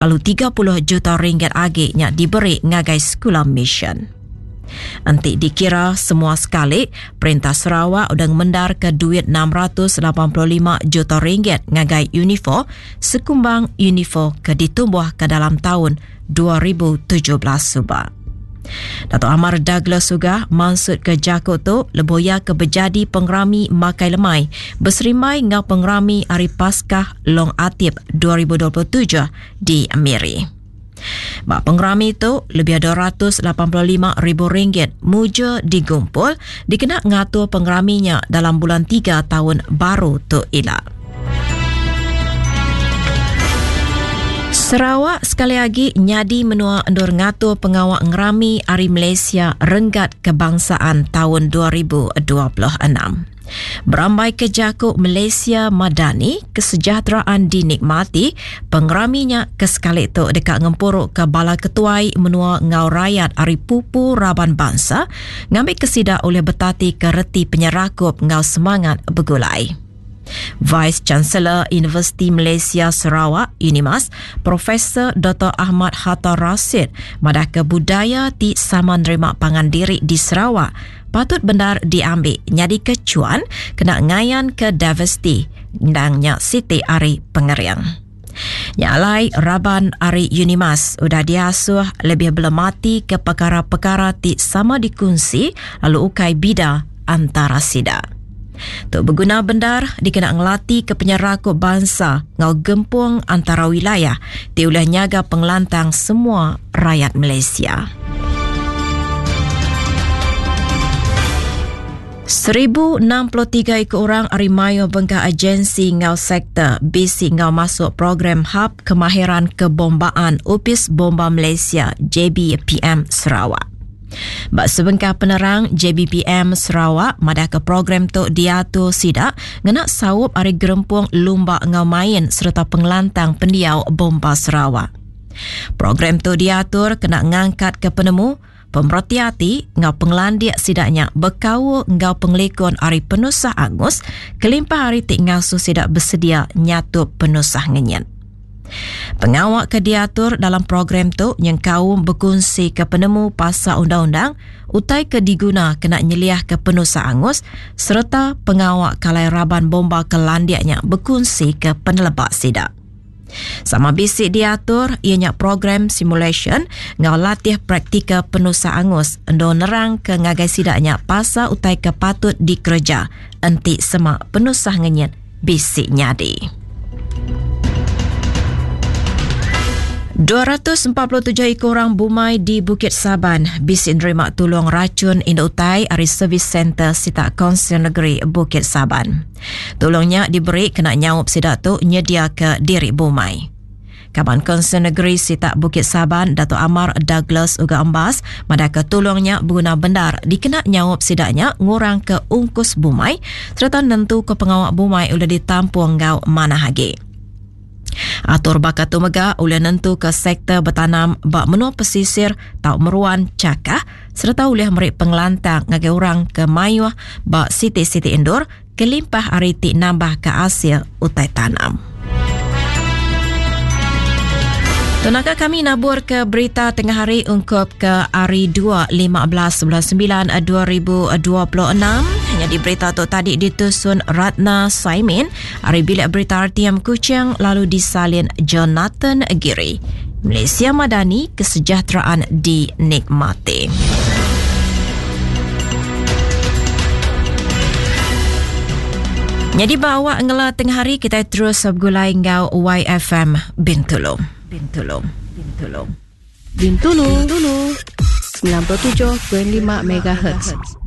Lalu 30 juta ringgit agi nya diberi ngagai sekula mission. Enti dikira semua sekali, Perintah Sarawak udah ngemendarka duit 685 juta ringgit ngagai UNIFOR sekumbang UNIFOR ke ditumbuhka dalam taun 2017 suba. Datuk Amar Douglas Uggah mansutka jaku tu lebuh iya ke bejadi pengerami makai lemai beserimbai enggau pengerami Hari Paskah Long Atip 2027 di Miri. Ba pengerami tu, lebih RM285,000 mujur digumpul dikena ngatur pengerami nya dalam bulan tiga taun baru tu ila. Sarawak sekali agi nyadi menua endur ngatur pengawa ngerami Hari Malaysia Renggat Kebangsaan taun 2026. Berambai ke jaku Malaysia Madani, Kesejahteraan Dinikmati, pengerami nya ke sekali tu deka ngempuruka bala ketuai menua enggau rayat ari pupu raban bansa ngambika sida ulih betatika reti penyerakup enggau semangat begulai. Vice Chancellor Universiti Malaysia Sarawak, UNIMAS, Profesor Doktor Ahmad Hatta Rasid madahka budaya ti sama nerima pangan diri di Sarawak patut bendar diambi nyadika chuan kena ngayanka diversiti endang nya siti ari pengering. Nya alai raban ari UNIMAS udah diasuh lebih belemati ke pekara-pekara ti sama dikunsi lalu ukai bida antara sida. Tu beguna bendar dikena ngelati ke penyerakup bansa enggau gempung antara wilayah ti ulih nyaga pengelantang semua rayat Malaysia. 1063 iku orang ari mayuh bengkah agensi enggau sektor bisi enggau masuk program Hub Kemahiran Kebombaan Opis Bomba Malaysia, JBPM, Sarawak. Ba sebengkah penerang, JBPM Sarawak madahka program tu diatur sida ngena saup ari Gerempung Lumba enggau Main sereta Pengelantang Pendiau Bomba Sarawak. Program tu diatur kena ngangkatka penemu, pemereti ati enggau pengelandik sida nya bekaul enggau pengelikun ari penusah angus kelimpah ari ti ngasuh sida besedia nyatup penusah ngenyit. Pengawa ke diatur dalam program tu nyengkaum bekunsika penemu pasal undang-undang, utai ke diguna kena nyeliahka penusah angus sereta pengawa kalai raban bomba ke landik nya bekunsika peneleba sida. Sama bisi diatur iya nya program simulasyen enggau latih praktikal penusah angus endur nerangka ngagai sida nya pasal utai ke patut dikereja enti sema penusah ngenyit bisi nyadi. 247 iku orang bumai di Bukit Saban bisi nerima tulung rachun indu utai ari Service Centre Sitak Kaunsil Negeri Bukit Saban. Tulung nya diberi kena nyaup sida tu nyediaka diri bumai. Kaban Kaunsil Negeri Sitak Bukit Saban Datuk Amar Douglas Uga Embas madahka tulung nya beguna bendar dikena nyaup sida nya ngurangka ungkus bumai sereta nentuka pengawa bumai ulih ditampung enggau manah agi. Atur baka tu mega ulih nentuka sektor betanam ba menua pesisir tau meruan chakah sereta ulih meri pengelantang ngagai orang ke mayuh ba siti-siti endur kelimpah ari ti nambahka asil utai tanam. Tunaka kami nabur ke berita tengah hari ungkup ke hari 2 15 bulan 9 2026. Jadi berita tu tadi ditusun Ratna Saimin ari bilik berita RTM Kuching lalu disalin Jonathan Giri. Malaysia Madani kesejahteraan dinikmati. Jadi bawa ngela tengah hari kita terus bergulai enggau YFM Bintulu. Bintulu. Bintulu. Bintulu. Bintulu. 97.5 MHz.